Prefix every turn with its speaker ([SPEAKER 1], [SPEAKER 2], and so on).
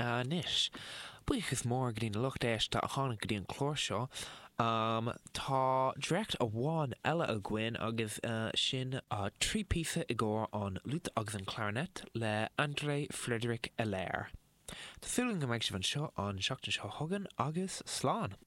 [SPEAKER 1] Anois, buíochas mór go dtí na lucht éisteachta a tháinig go dtí an clár seo. Tá dréacht amháin eile againn agus sin 3 píosa i gcomhair an fhliúit agus an clarinet le André Frédéric Illaire. Tá súil agam go mbeidh sibh anseo an seachtain seo chugainn agus slán!